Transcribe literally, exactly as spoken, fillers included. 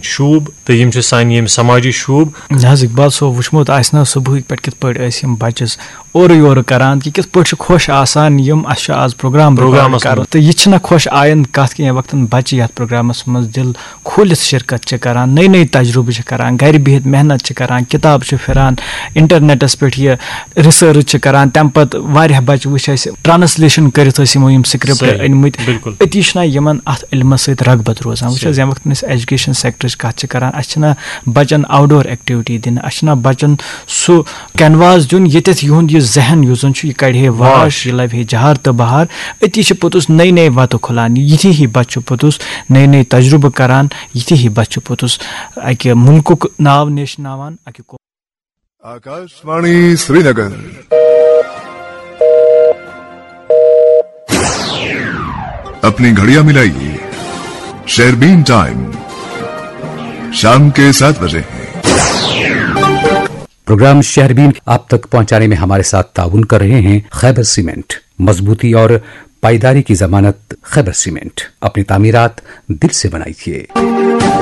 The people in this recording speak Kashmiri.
شوٗب تہٕ یِم چھِ سانہِ ییٚمہِ سماجی شوٗب۔ نہ حظ، اقبال صٲب، وٕچھمُت آسہِ نہ صُبحٕکۍ پٮ۪ٹھ کِتھ پٲٹھۍ ٲسۍ یِم بَچَس اورٕ یورٕ کَران کہِ کِتھ پٲٹھۍ چھِ خۄش آسان یِم۔ اَسہِ چھُ آز پروگرام رِکارڈ پروگرامَس کَرُن منٛز۔ تہٕ یہِ چھِنہ خۄش آیَنٛد کَتھ کہِ ییٚمہِ وقتَن بَچہِ یَتھ پروگرامَس منٛز دِل کھوٗلِتھ شرکت چھِ کَران، نٔے نٔے تجرُبہٕ چھِ کَران، گَرِ بِہِتھ محنت چھِ کَران، کِتاب چھِ پھِران، اِنٹرنیٹَس پٮ۪ٹھ یہِ رِسٲرٕچ چھِ کَران۔ تَمہِ پَتہٕ واریاہ بَچہِ وٕچھ اَسہِ ٹرانسلیشن کٔرِتھ ٲسۍ یِمو یِم سکرپٹ صحیح، أنۍ مٕتۍ۔ بِلکُل۔ أتی چھِنہ یِمَن اَتھ علمَس سۭتۍ رغبت روزان۔ وٕچھ حظ، صحیح۔ ییٚمہِ وقتہٕ أسۍ ایجوکیشن سیکٹرٕچ کَتھ چھِ کَران، اَسہِ چھِنہ بَچَن آوٹ ڈور ایکٹیویٹی دِنہٕ، اَسہِ چھِنہ بَچَن سُہ کینواس دیُن، ییٚتٮ۪تھ یِہُنٛد یہِ ذہن یُس زَن چھُ، یہِ کَڑِ ہے واش، واش۔ یہِ لَبہِ ہے جہار تہٕ بہار۔ أتی چھِ پوٚتُس نٔے نٔے وَتہٕ کھُلان۔ یِتھی ہی بَچہٕ چھُ پوٚتُس نٔے نٔے تجربہٕ کَران، یِتھی ہی بَچہٕ چھُ پوٚتُس اَکہِ مُلکُک ناو نیشناوان، اَکہِ قو- आकाशवाणी श्रीनगर। अपनी घड़ियां मिलाइए, शेरबीन टाइम शाम के सात बजे है। प्रोग्राम शहरबीन आप तक पहुंचाने में हमारे साथ ताउन कर रहे हैं खैबर सीमेंट। मजबूती और पायदारी की जमानत खैबर सीमेंट। अपनी तामीरात दिल से बनाइए।